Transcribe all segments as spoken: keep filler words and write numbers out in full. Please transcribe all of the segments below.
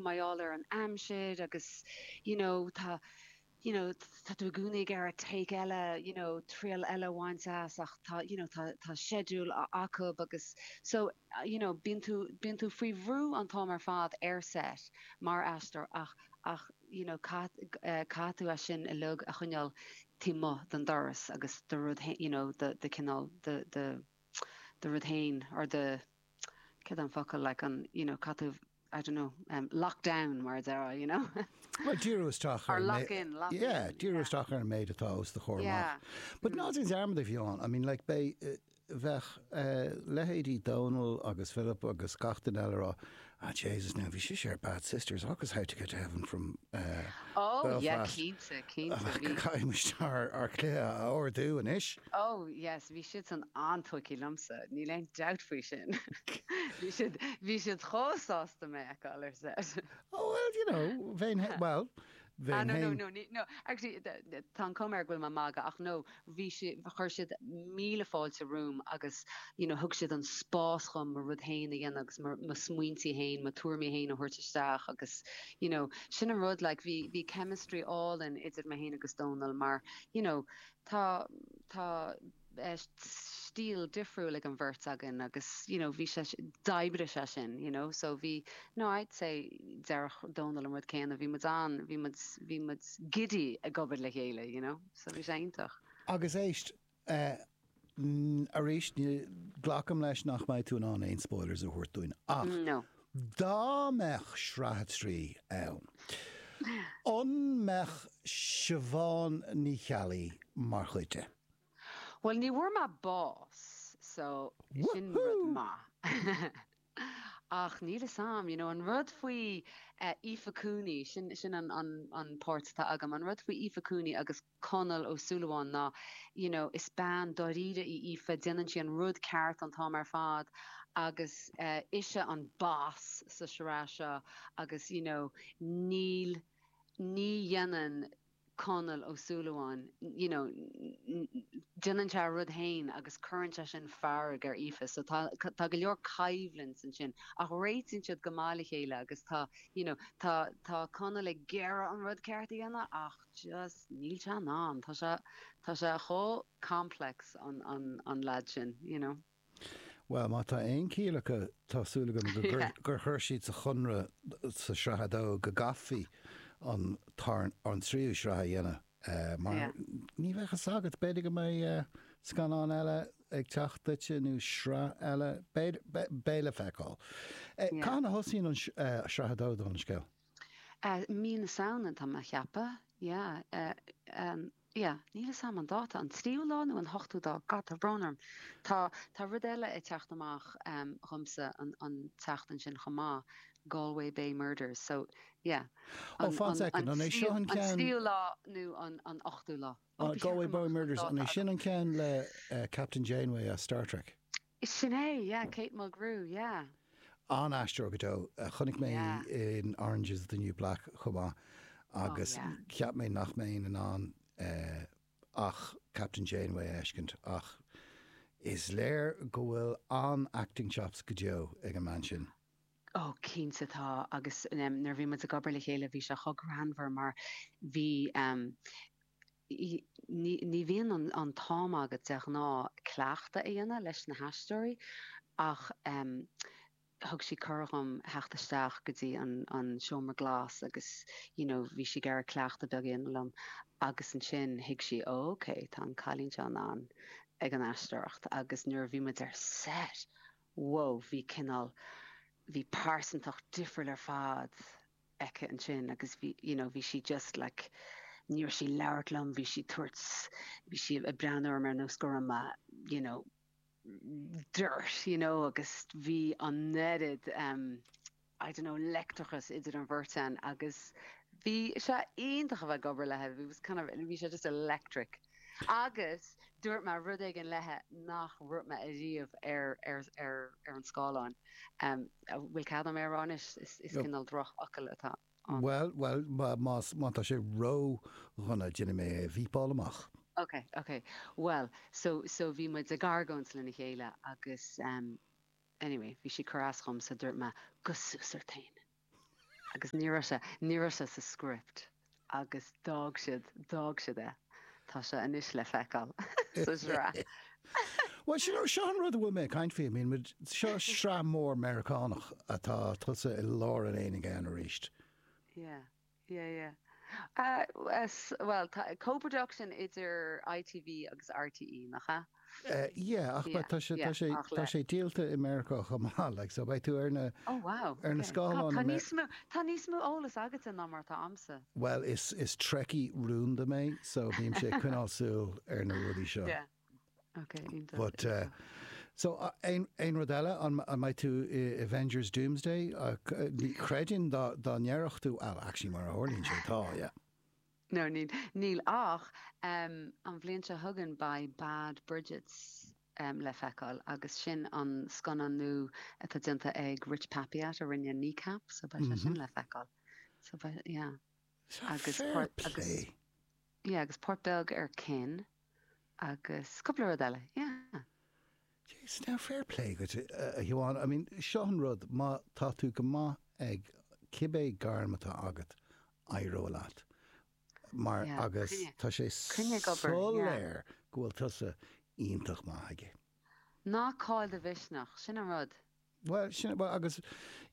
Mar gheall ar an aimsir agus you know tá you know tá tú i gcónaí ag iarraidh take eile you know triail eile a bhaint as ach tá you know tá tá schedule acu agus so you know bíonn tú bíonn tú faoi bhrú an t-am ar fad ar set mar aisteoir ach ach you know caith caithfidh tú é sin uilig a choinneáil taobh amuigh den doras agus do rud you know do do cineál do do do rud féin or do céard an focal like an you know caithfidh tú I don't know um, lockdown mar a déarfá you know Well díriú isteach or lock in lock yeah in díriú yeah. isteach ar an méid atá os do chomhair Yeah. amach. But ná déan dearmad a bhíonn I mean like be bheadh uh, leithéidí Donal agus Philip agus gach duine eile rá ah Jesus now bhí sí ar Bad Sisters agus How to Get to Heaven from uh, Oh yeah Belfast. cinnte cinnte bhí Caithfimid ár ár cluiche a ardú anois. Oh yes, bhí siad san an-tógtha liomsa, níl aon dabht faoi sin. Bhí siad bhí siad chomh sásta mé a fheiceáil ar set. Oh well you know bheinn well Ah bheinn no no féin no ní no actually tá an chuma air go bhfuil mé ag magadh ach no bhí si chuir siad míle fáilte romham agus you know thug siad an spás dhom mo rud féin a dhéanamh agus mo mo smaointe féin mo tuairimí féin a thabhairt isteach agus you know sin an rud like bhí bhí chemistry álainn idir mé féin agus Dónal mar you know tá tá eh, stíl difriúil ag an bheirt againn agus you know bhí sé d'oibrigh sé sin you know so bhí no I'd say déarfadh Dónal an rud céanna bhí muid an bhí muid bhí muid giddy ag obair le chéile you know so bhí sé iontach. Agus éist uh, arís ní glacaim leis nach mbeidh tú in ann aon spoilers a thabhairt dúinn ach No. dá mbeadh sraith trí ann. An mbeadh Siobhán Ní Cheallaigh mar chuid de. Well ní bhfuair mé bás so sin rud maith. Ach níl a fhios agam, you know, an rud faoi uh, Aoife Cooney sin sin an, an, an páirt atá agam, an rud faoi Aoife Cooney agus Conall Ó Súilleabháin ná you know, is bean dáiríre í Aoife déanann sí an rud ceart an t-am ar fad agus uh, ise an boss sa sraith seo agus you know, níl ní dhéanann Conall Ó Súilleabháin you know, déanann sé rud féin agus cuireann sé sin fearg ar Aoife, so tá tá go leor coimhlint ansin ach réitíonn siad go maith le chéile agus tá you know, tá tá Conall ag iarraidh an rud ceart a dhéanamh ach just níl sé in ann tá sé tá sé chomh complex an an an lad sin you know. Well má tá aon chiall acu tá súil agam gur gur chuir siad sa chonradh sa sraith dó go gcaithfí an tar an tríú sraith a dhéanamh. Uh, mar Yeah. ní bheadh a fhios agat b'fhéidir go mbeidh uh, scannán eile ag teacht duitse nó sraith eile beidh le feiceáil. Uh, Yeah. Cathain a thosaíonn an uh, sraith dó don scéal? Uh, mí na Samhna tá mé ag ceapadh yeah, uh, um, yeah, níl a fhios agam an dáta an tríú lá nó an hochtú lá God tá brón orm. Tá tá rud eile ag teacht amach um, dhomsa an, an tseachtain sin chomh maith Galway Bay Murders so yeah Ó fan second, an é seo an an ceann tríú lá nó an an ochtú lá. uh, Galway Bay Murders an é sin an ceann le uh, Captain Janeway as Star Trek. Sin é yeah, Kate Mulgrew yeah. An-aisteoir go deo uh, chonaic mé Yeah. in Orange is the New Black chomh maith agus Oh, yeah. cheap mé nach mbeinn in ann uh, ach Captain Janeway a fheiscint ach is léir go bhfuil an acting chops go deo ag an mbean sin. Ó cinnte tá agus um, nuair bhí muid ag obair le chéile bhí sé chomh greannmhar mar bhí um, ní ní bhíonn an, an t-am agat de ghnáth cleachtadh a dhéanamh leis na haisteoirí ach um, thug sí cuireadh dom theacht isteach go dtí an, an seomra glas agus you know, bhí sí ag iarraidh cleachtadh beag a dhéanamh liom agus ansin thuig sí ó, okay, tá an cailín seo an ag an aisteoireacht agus nuair a bhí muid ar set wow, bhí cineál bhí pearsantacht difriúil ar fad aici ansin agus bhí you know, bhí sí just like ní raibh sí ag labhairt liom bhí sí tabhairt bhí sí ag breathnú orm ar nós go raibh mé you know dirt you know agus bhí an oiread um, I don't know leictreachas idir an bheirt againn agus bhí sé iontach a bheith ag obair léi bhí was kind of bhí sé just electric agus dúirt mé rud éigin léi nach ndúirt mé ariamh ar ar ar ar an scáileán um, bhfuil cead agam é a rá anois is, is Yep. cineál drochfhocal atá ann. Well, well má má tá sé ró-dhona déanfaidh mé é bhípáil amach. Okay, okay. Well, so so bhí muid ag argóint lena chéile agus um, anyway, bhí sí ag cur as dom so dúirt mé go suas ort féin. Agus ní raibh sé, ní raibh sé sa script agus d'fhág siad, d'fhág siad é. Tá sé anois le feiceáil sa sraith. Bhuel, sin, seo an rud a bhfuil mé ag caint faoi. I mean, muid, seo sraith mór Meiriceánach atá tusa i lár an aonaigh ann arís. Yeah, yeah, yeah. Uh, bhuel, tá co-production idir I T V agus R T E, nach ea? Uh, yeah, ach yeah, tá sé tá sé tá sé díolta i Meiriceá chomh maith, like, so beidh tú ar na Oh wow. ar na scáileáin. Tá níos mó tá níos mó eolas agat ná mar atá a'msa. Well, is is Trekkie rúnda mé, so bímse ag coinneáil súil ar na rudaí seo. Yeah. Okay, iontach. But uh, so uh, aon aon rud eile an an mbeidh tú i Avengers Doomsday uh, ní chreidfinn dá dá ndéarfadh tú, well, actually mar a tharlaíonn sé tá, yeah. No, níl níl ach um, an bhliain seo chugainn beidh Bad Bridgets um, le feiceáil agus sin an scannán nua atá déanta ag Rich Peppiatt a rinne Kneecap, so beidh sé sin Mhm. le feiceáil. So beidh, yeah. Agus Fair port agus play. yeah, agus páirt beag ar Kin agus cúpla rud eile, yeah. Jeez, now fair play duit uh, Shiobhán, I mean, seo an rud má tá tú go maith ag cibé gairm atá agat éireoidh leat. Mar Yeah, agus coinne tá sé coinne ag obair, yeah. soiléir go bhfuil tusa iontach maith aige. Ná caill do mhisneach, sin an rud. Well, sin, well, agus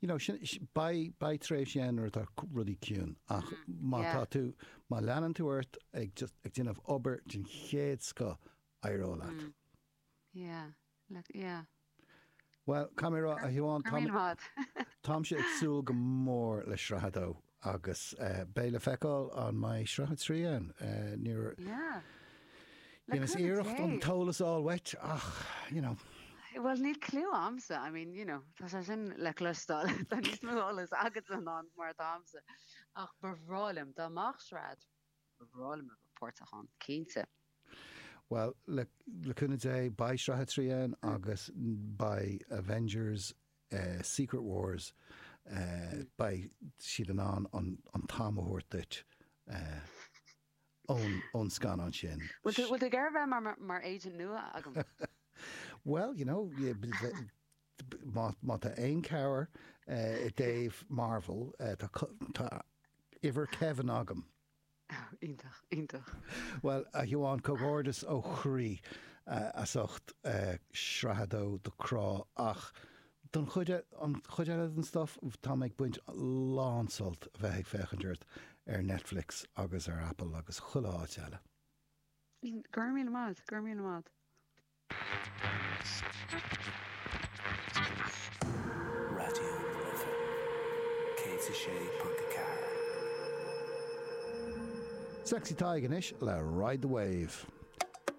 you know, sin, beidh beidh tréimhsí ann nuair atá rudaí ciúin ach má Yeah. tá tú má leanann tú ort ag just ag déanamh obair den chéad scoth éireoidh leat. Mm. Yeah, le, yeah. Well, Camera a Shiobhán Go raibh míle maith. Táimse ag súil go mór le sraith a dó agus uh, beidh le feiceáil an mbeidh sraith a trí ann uh, níor Yeah. Le Dhéanas cúnamh iarracht an Dé. t-eolas a fháil uait ach you know, Well, níl clue a'msa, I mean, you know, tá sé sin le cloisteáil tá níos mó eolas agat ná mar atá a'msa. Ach ba bhreá liom dá mbeadh sraith ba bhreá liom a bheith páirteach ann, cinnte. Well le le cúnamh Dé beidh sraith a trí ann agus beidh Avengers uh, Secret Wars uh, beidh siad in ann an, an t-am a thabhairt duit uh, ón ón scannán sin. Bhfuil tú bhfuil tú ag bheith mar, mar, mar agent nua agam? Well, you know, yeah, b- b- má má tá aon chabhair uh, i dtaobh Marvel uh, tá cu- tá uimhir Kevin agam. Iontach, iontach. Well a Shiobhán comhghairdeas ó chroí uh, as ucht uh, sraith a dó de Crá ach don chuid e- an chuid eile den stuff tá mé ag baint lán-sult a bheith ag féachaint ort ar Netflix agus ar Apple agus chuile áit eile. Go raibh míle maith, go raibh míle maith. Raidió na Life céad a sé ponc ceathair. Sexy Tadhg anois le Ride the Wave.